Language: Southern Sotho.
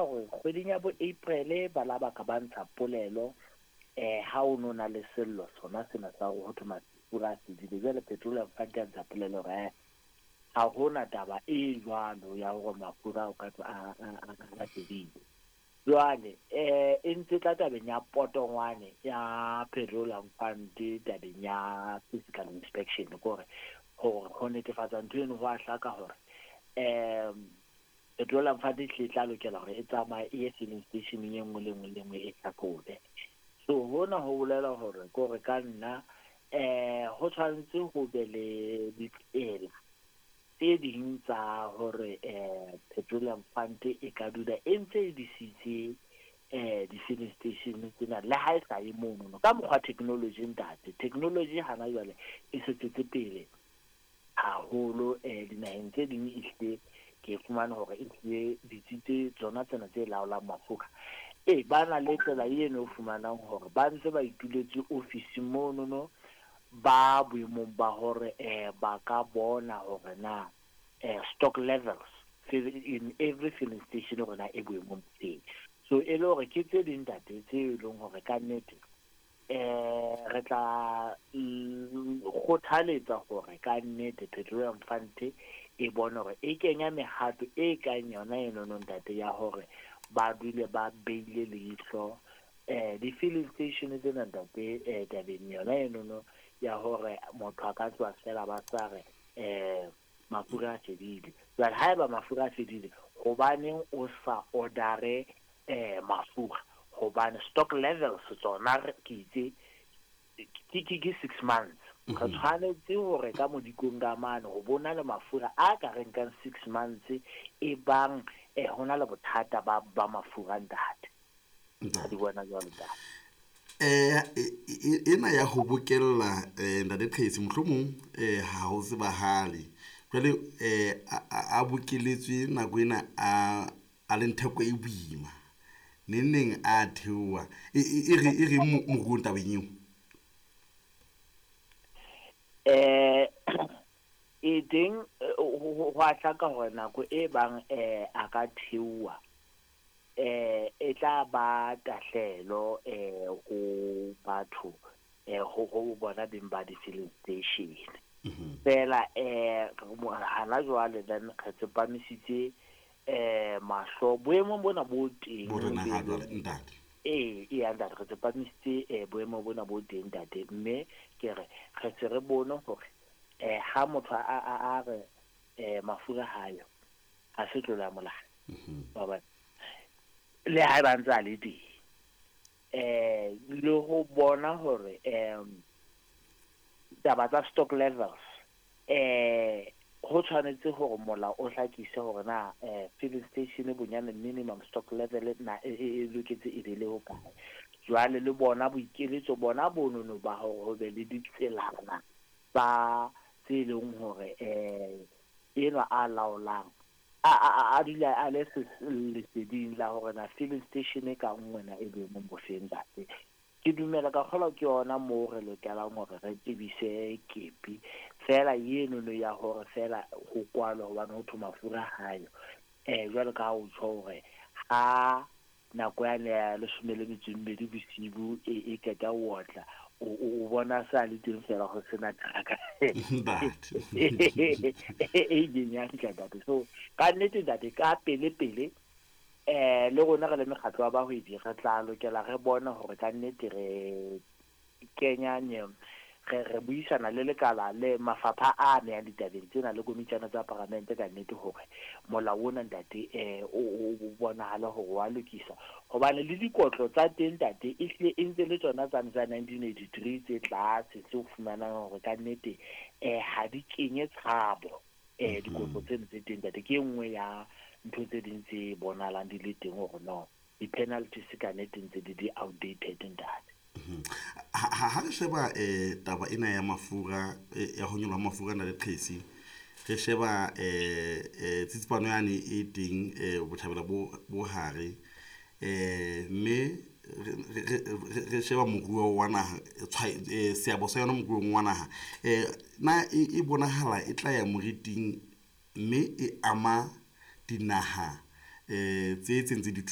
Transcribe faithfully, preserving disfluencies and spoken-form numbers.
hore kgweding ya bo April ba la ba ka ba ntsha polelo eh ha o no na le sello sona sena sa hore ho thwe mafura a fedile. Jwale Petroleum Fund ya ntsha polelo hore eh ha hona taba e jwalo ya hore mafura o ka a a fedile. Jwale eh e ntse tla tabeng ya potongwane ya Petroleum Fund tabeng ya physical inspection, kore hore ho netefatsa ntho eno ho a hlaka hore um Petroleum Fund e tle tla lokela hore e tsamaye e ye filling station e nngwe le nngwe le nngwe e hlahlobe. So hona ho bolela hore kore ka nna eh ho tshwanetse ho be le ditsela tse ding tsa hore eh Petroleum Fund e ka dula e ntse e disitse eh di-filling station tsena le ha e sa ye mono ka mokgwa technology ntate. Technology hana jwale e se tswetse pele haholo eh dinaheng tse ding, ehlile ke fumane hore ehlile ditsi tse tsona tsena tse laolang mafura e ba na le tsela eno o fumanang hore ba ntse ba ituletse office mono no ba boemong ba hore eh ba ka bona hore na eh stock levels in every filling station hore na e boemong teng. So e le hore ke tse ding ntate tse e leng hore ka nnete eh re tla kgothaletsa hore ka nnete Petroleum Fund e bone hore e kenya mehato e kang yona eno no ntate ya hore ba dule ba beile leihlo eh di-filling station tsena ntate eh tabeng yona eno no ya hore motho a ka tswa fela ba sa re eh mafura a fedile. Jwale haeba mafura a fedile, hobaneng o sa order eh mafura? Hobane stock levels tsona ke itse ke ke ke six months. Re tshwanetse hore ka modikong ka mane ho bona le mafura a ka re nkang six months e bang eh hona le bothata ba ba mafura ntate. Di bona jwalo ntate. Eh ena ya ho bokella eh ntate Qhesi mohlomong eh ha ho tsebahale. Jwale eh a bokeletswe nako ena a a le theko e boima. Neng neng a theoha. E re e re moruong tabeng eo. Eh e teng ho a hlaka hore nako e bang eh a ka theoha eh e tla ba tahlelo eh ho batho eh ho ho bona beng ba di-filling station. Fela eh hana jwale then re tsepamisitse eh mahlo boemong bona bo teng bo rena ha jwale ntate. Eh e ya ntate, re tsepamisitse eh boemo bona bo teng ntate, mme ke re re se re bone hore eh ha motho a a a re eh mafura hayo ha se tlola molao. Ba ba le ha ba ntse a le teng eh le ho bona hore em taba tsa stock levels eh ho tshwanetse hore molao o hlakise hore na eh filling station bonyane minimum stock level na e loketse e be le ho kae. Jwale le bona boikeletso bona bonono ba hore ho be le ditselana tsa tse leng hore eh enwa a laolang a a a dula a le leseding la hore na filling station ka nngwe na e boemong bo feng ntate. Ke dumela ka kgolwa ke yona moo re lokelang hore re tebise kepi fela eno no ya hore fela ho kwalwa hobane ho thwe mafura hayo eh jwalo ka ha o tjho hore ha nako yane ya leshome le metso e mmedi bosibu e e qeta ho otla o o bona sa le teng fela ho sena truck e ileng ya fihla ntate. So ka nnete ntate ka pele pele eh le rona re le mekgatlo wa bahwebi re tla lokela re bone hore ka nnete re kenya nye re re buisana le lekala le mafapha a amehang ditabeng tsena le komitjana tsa paramente ka nnete hore molao ona ntate eh o o bonahale hore wa lokisa, hobane le dikotlo tsa teng ntate e hlile e ntse le tsona tsane tsa nineteen eighty-three tse tlase tse o fumanang hore ka nnete eh ha di kenye tshabo eh dikotlo tseno tse teng ntate. Ke e nngwe ya ntho tse ding tse bonahalang di le teng hore no di-penalties ka nnete ntse di di outdated ntate. Ha ha re sheba eh taba ena ya mafura ya ho nyoloha mafura na le Qhesi, re sheba eh eh tsitsipano yane e teng eh botjhabela bo bo hare eh mme re sheba moruo wa naha seabo sa yona moruong wa naha eh na e bonahala e tla ya moriting mme e ama dinaha eh tse tse ntse di